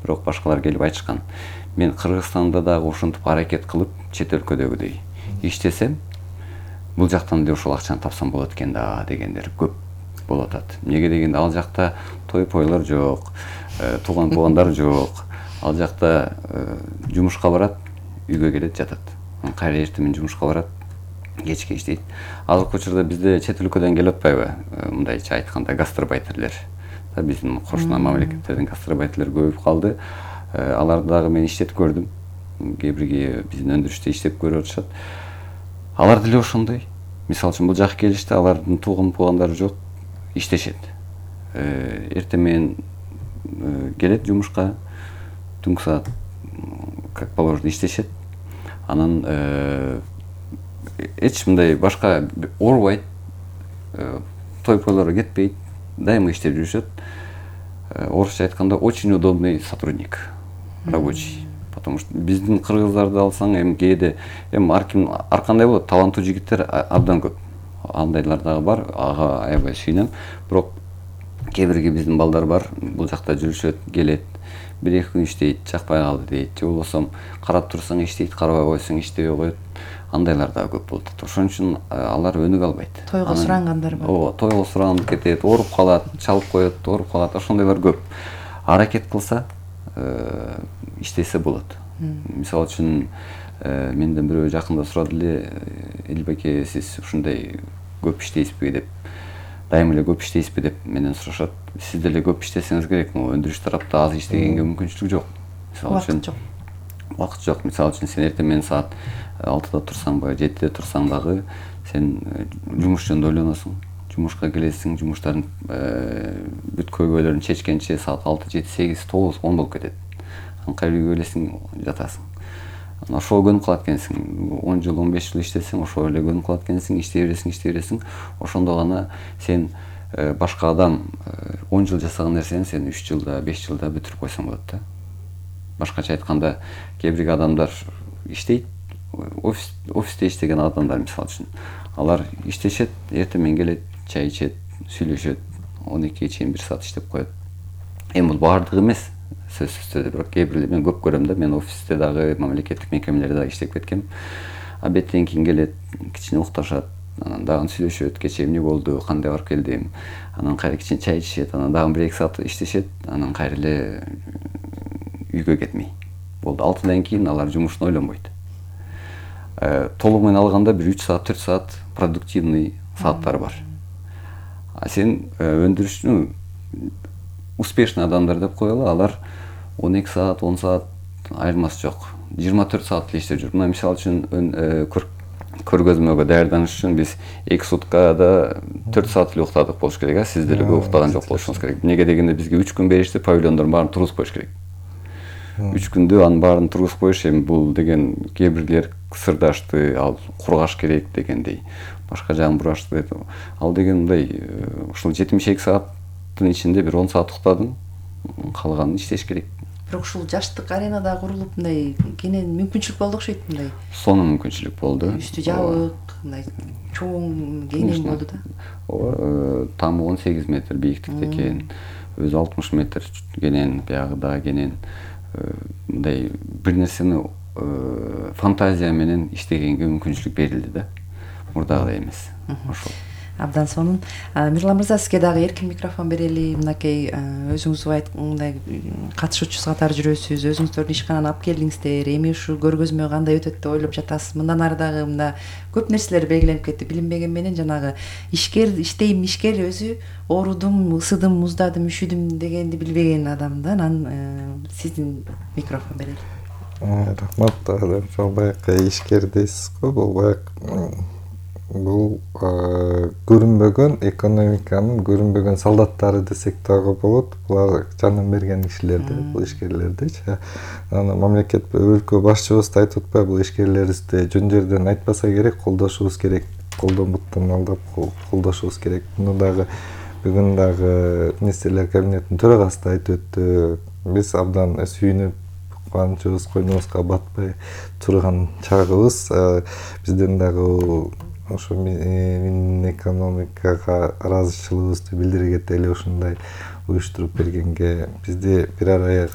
бирок башкалар келип айтышкан. Мен Кыргызстанда дагы ошентип аракет кылып чет өлкөдөгүдөй иштесем, бул жактан деле ошол акчаны тапсам болот экен да дегендер көп болуп атат. Эмнеге дегенде ал жакта той-пойлор жок, тууган-туугандар жок. Ал жакта жумушка барат, үйгө келет, жатат. Кайра эртең менен жумушка барат, кечке иштейт. Азыркы учурда бизде чет өлкөдөн келип атпайбы? Мындайча айтканда гастарбайтерлер. Биздин кошуна мамлекеттерден гастарбайтерлер көбөйүп калды. Аларды дагы мен иштетип көрдүм. Кээ-бирге биздин өндүрүштө иштеп көрүп атышат. Алар деле ошондой. Мисалы үчүн бул жака келишти, алардын тууган-туугандары жок, иштешет. Эртең менен келет жумушка, түнкү саат как положено иштешет. Анан эч мындай башка оорубайт, той-пойлорго кетпейт, дайыма иштеп жүрүшөт. Орусча айтканда очень удобный сотрудник, рабочий. Потому что биздин кыргыздарды алсаң, кээде ар кандай болот, таланттуу жигиттер абдан көп. Андайлар дагы бар, ага аябай сүйүнөм. Бирок кээ-бирге биздин балдар бар, бул жакта жүрүшөт, келет, 1-2 күн иштейт, жакпай калды дейт. Же болбосо карап турсаң иштейт, карабай койсоң иштебей коет. Андайлар дагы көп болуп атат. Ошон үчүн алар өнүгө албайт. Тойго сурангандар бар. Ооба, тойго сураган кетет, ооруп калат, чалып коет, ооруп калат. Ошондойлор көп. Аракет кылса, иштесе болот. Мисалы үчүн менден бирөө жакында сурады эле, Элбеке, сиз ушундай көп иштейсизби деп, дайыма эле көп иштейсизби деп менден сурашат. Сиз деле көп иштесеңиз керек, өндүрүш тарапта аз иштегенге мүмкүнчүлүк жок. Мисалы үчүн вакыт жок. Мисалы үчүн сен эртең менен саат 6-да турсаңбы, 7-де турсаң дагы сен жумуш жөнүндө ойлоносуң. Жумушка келесиң, жумуштардын бүт көйгөйлөрүн чечкенче саат 6, 7, 8, 9, 10 болуп кетет. Кайра үйгө келесиң, жатасың. Ошого көнүп калат экенсиң. 10 жыл, 15 жыл иштесең, ошого эле көнүп калат экенсиң, иштей бересиң. Ошондо гана сен башка адам 10 жыл жасаган нерсени сен 3 жылда, 5 жылда бүтүрүп койсоң болот да. Башкача айтканда, кээ-бир адамдар иштейт, офисте иштеген адамдар мисалы үчүн. Алар иштешет, эртең менен келет, чай ичет, сүйлөшөт, 12-ге чейин 1 саат иштеп коет. Бул баардыгы эмес, сөзсүз түрдө, бирок кээ-бирлер мен көп көрөм да. Мен офисте дагы, мамлекеттик мекемелерде дагы иштеп кеткем. Обедтен кийин келет, кичине укташат, анан дагы сүйлөшөт, кечээ эмне болду, кандай барып келдим. Анан кайра кичине чай ичишет, анан дагы 1-2 саат иштешет, анан кайра эле үйгө кетмей. Болду. 6-дан кийин алар жумушун ойлонбойт. Толугу менен алганда 3 саат, 4 саат продуктивный сааттар бар. А сен өндүрүшчү успешный адамдар деп коелу, алар 12 саат, 10 саат айырмасы жок. 24 саат эле иштеп жүр. Мына мисалы үчүн көргөзмөгө даярданыш үчүн биз 2 суткада 4 саат эле уктадык болуш керек. Сиз деле көп уктаган жок болушуңуз керек. Эмнеге дегенде бизге 3 күн беришти, павильондордун баарын тургузуп коюш керек. 3 күндө анын баарын тургузуп коюш, бул деген кээ-бирлер сырдашты, ал кургаш керек дегендей. Башка жагын бурашты деп. Ал деген мындай ушул 72 сааттын ичинде бир 10 саат уктадың, калганын иштеш керек. Бирок ушул жаштык аренада курулуп мындай кенен мүмкүнчүлүк болду окшойт мындай. Сонун мүмкүнчүлүк болду. Үстү жабык, мындай чоң кенен болду да. Ооба, тамы 18 метр бийиктикте экен. Өзү 60 метр кенен, биягы дагы кенен. Мындай бир нерсени фантазия менен иштегенге мүмкүнчүлүк берилди да. Мурдагыдай эмес. Ошол. Абдан сонун. Мирлан мырза, сизге дагы эркин микрофон берели. Мынакей өзүңүз мындай катышуучусу катары жүрөсүз, өзүңүздөрдүн ишкананы алып келдиңиздер. Эми ушул көргөзмө кандай өтөт деп ойлоп жатасыз? Мындан ары дагы мында көп нерселер белгиленип кетти. Билинбеген менен жанагы ишкер өзү оорудум, ысыдым, муздадым, үшүдүм дегенди билбеген адам да. Анан сиздин микрофон берели. Рахмат. Баягы ишкер дейсиз го, бул көрүнбөгөн экономиканын көрүнбөгөн солдаттары десек дагы болот. Булар жанын берген кишилерди, бул ишкерлердичи. Анан мамлекет өлкө башчыбыз да айтып атпайбы, бул ишкерлерибизди жөн жерден айтпаса керек, колдошубуз керек. Колдонбуктан алдап колдошубуз керек. Муну дагы бүгүн дагы министрлер кабинетинин төрагасы да айтып өттү. Биз абдан сүйүнүп, кубанычыбыз койнубузга батпай турган чагыбыз. Бизден дагы ошо экономикага ыраазычылыгыбызды билдирге деле ушундай уюштуруп бергенге, бизди бир ара